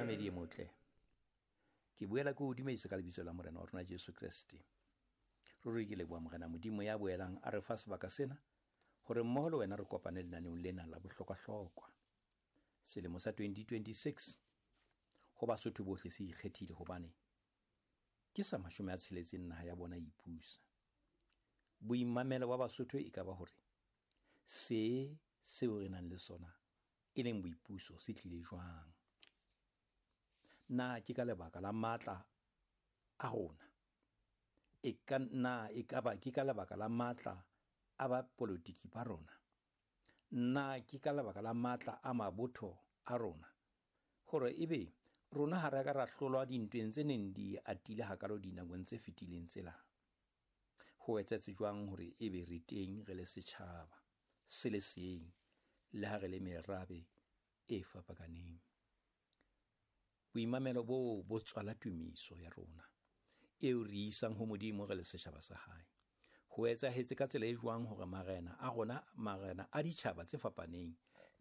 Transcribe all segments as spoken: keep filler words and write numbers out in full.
Momamedi e motle, ke boela ke o dumedisa ka lebitso la Morena wa rona Jesu Kreste. Ruri ke leboha Morena Modimo ya boelang a re fa sebaka sena hore mmoho le wena re kopane lenaneong lena la bohlokwahlokwa. Selemo sa twenty twenty-six ho Basotho bohle se ikgethile hobane ke sa mashome a tsheletseng naha ya bona e ipusa. Boimamelo ba Basotho e ka ba hore se seo re nang le sona e leng boipuso se tlile jwang. Na ke ka lebaka la matla a rona? E ka na e ka ba ke ka lebaka la matla a ba politiki ba rona? Na ke ka lebaka la matla a mabotho a rona? Hore ebe rona ha re ka ra hlolwa dintweng tse neng di atile hakalo dinakong tse fetileng tsela. Ho etsahetse jwang hore ebe re teng re le setjhaba se le seng le ha re le merabe e fapakaneng? Boimamelo bo bo tswala tumiso ya rona eo re isang ho Modimo re le setjhaba sa hae. Ho etsahetse ka tsela e jwang hore marena a rona, marena a ditjhaba tse fapaneng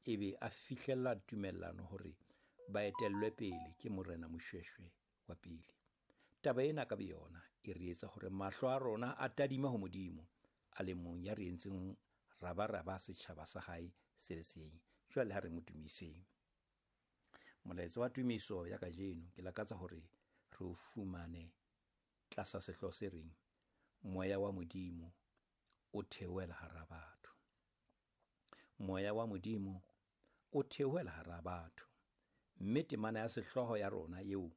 ebe a fihlella tumellano hore ba etellwe pele ke Morena Moshoeshoe wa pele. Taba ena ka boyona e re etsa hore mahlo a rona a tadime ho Modimo a le mong ya re entseng rabaraba setjhaba sa hae se le seng. Jwale ha re mo tumiseng. Molaetsa wa tumiso ya kajeno ke lakatsa hore re o fumane tlasa sehlooho se reng Moya wa Modimo o theohela hara batho. Moya wa Modimo o theohela hara batho. Mme temana ya sehlooho ya rona eo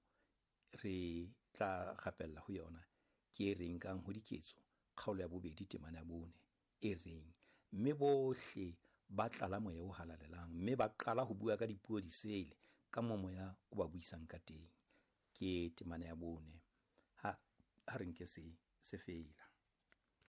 re tla rapella ho yona ke e reng kang ho Diketso kgaolo ya bobedi temana ya bone e reng mme bohle ba tlala moya o halalelang mme ba qala ho bua ka dipuo disele ka moo moya o ba buisang ka teng. Ke temana ya bone. Ha ha re nke se se fela.